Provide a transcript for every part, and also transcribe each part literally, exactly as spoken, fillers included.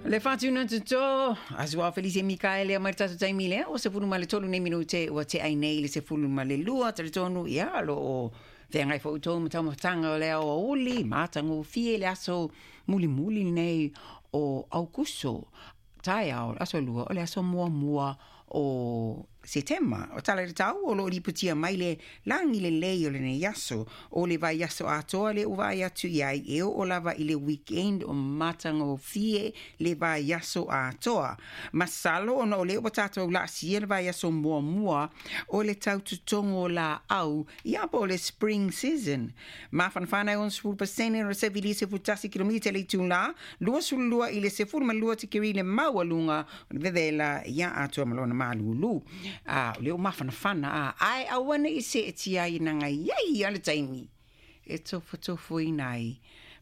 Le whātuna tuto, asua Felice Mikaele mai le tatou taimi lea, o sefulu ma le tolu nei minute ua te ai nei le sefulu ma le lua, talitonu, ia, lo o feagai foi outou ma taumafataga o le aoauli, matagofie le aso mulimuli nei o Aukuso, taeao, le aso lua, o le aso muamua o Setema. O tala i le tau o loo lipotia mai le lagi lelei o lenei aso. O le vaiaso atoa le ua vaai atu i ai e oo lava i le weekend o matagofie le vaiaso atoa. Masalo ona o lea ua tatou laasia le vaiaso muamua o le tau totogo o laau, ia po o le spring season. Mafanafana e onosefulu pasene o le sevilia sefulutasi kilomita le itulā, luasululua i le sefulu ma lua tikeri le maualuga o le vevela, ia atoa ma lona malūlū. A o lea ua mafanafana a ae aua nei seetia ai naga iai a le taimi e tofotofoina ai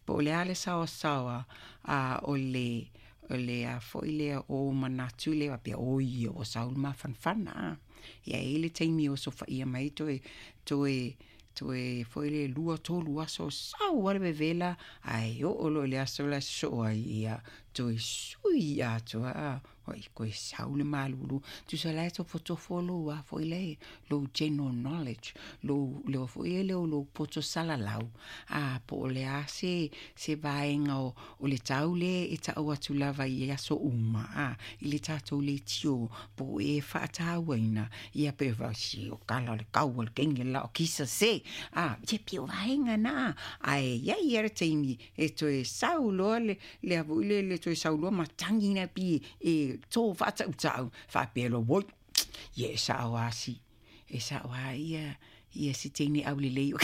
po o le a le saoasaoa a o le o le a foi lea o manatu lea faapea o ia ua sau le mafanafana a ia e i ai le taimi o sofaia mai toe toe toe foi le lua tolu aso sau a le vevela ae oo loa i le aso la e sosoo ai ia toe sui atoa a oi koe sau le malulu tusa la e tofotofo lou a foi le lou general knowledge lou lea foi e leo lou poto salalau a po o le a se se vaega o, o le tau le e tau atu lava i aso uma a i le tatou leitio po o e faatauaina ia pe si o kala o le kau o le kenge la o kisa se a ia pei o vaega na ae iai ia le taimi e toe sau loa le le a foi le le toe sau loa matagi na pi e tō faatautau faapea loa oi ia e sao lava si e sao lava ia ia si teine aulelei o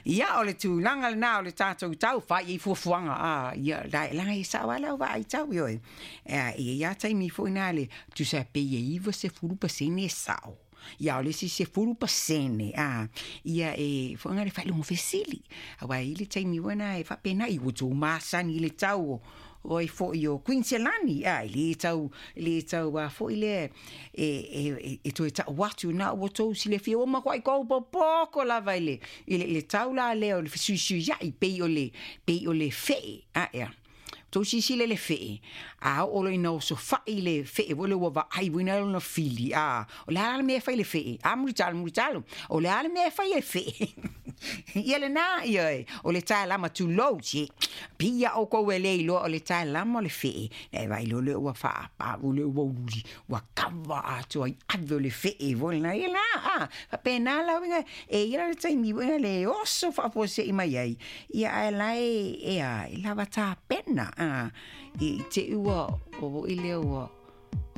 Ia o le tulaga lena o le tatou tau fai i fuafuaga a ia laga e sao lava lau vaai tau ioe. E i ai lava taimi foi na le tusa pei e iva sefulu pasene e sao. Ia o le isi sefulu pasene a ia e foi le faailoga fesili. Aua e i ai le taimi foi na e faapena i ua tou masani i le tau o oi foi o Kuiniselani a e le tau le tau a foi lea e e e toe tau atu na ua tou silafia ua matuai tou popoko lava i le i le, le tau la lea o le fesuisuiai pei o le pei o le fee a ea tou silasila i le fee a oo loa ina osofai le fee foi lea ua vaai foi lea lona fili a o le a le mea e fai i le fee a mulitalo mulitalo o le a le mea e fai e le fee ia lena ioe o le taelama tulou se pia outou e le iloa o le taelama o le fee e vaai loa lea ua faapau lea ua uliuli ua kava atoa i ave o le fee foi lena ia la a faapena la uiga e i ai le taimi foi le oso faafuasei mai ai ia ae la e e a e lava tapena a i te ua o foi lea ua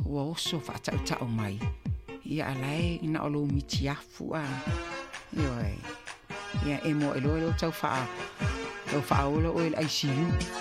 ua oso faatautau mai ia a la e na o lou mitiafu a ioe ia e mo e loa lea tau faa tau faaola oe i le I C U.